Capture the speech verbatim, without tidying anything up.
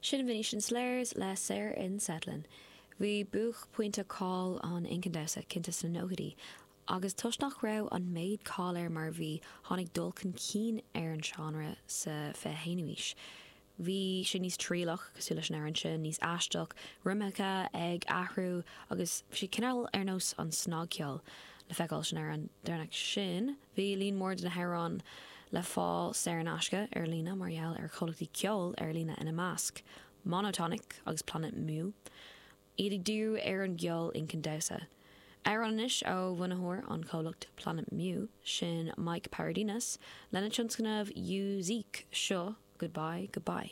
Sin Venetian Slayers le Saor in Setlin. Bhí buaicphointe cáil an incan damhsa cinnte sna nóchaidí, agus toisc nach raibh an méid cáil air mar bhí tháinig dul chun cinn ar an seánra sa fiche haonú haois. Bhí sé níos trialach cosúil leis an amhrán sin níos aisteach, ritmeacha ag athrú agus sé cineál ar nós an snagcheol le feiceáil san amhrán deireanach sin, bhí líon mór de na hamhráin le fáil saor in aisce ar líne mar gheall ar chomhlachtaí ceoil ar líne ina measc, Monotonic agus Planet Mu, iad ag díriú ar an gceol incan damhsa. Amhrán anois ó bhunaitheoir an chomhlacht Planet Mu sin Mike Paradinas lena tionscnamh Uzique seo Goodbye Goodbye.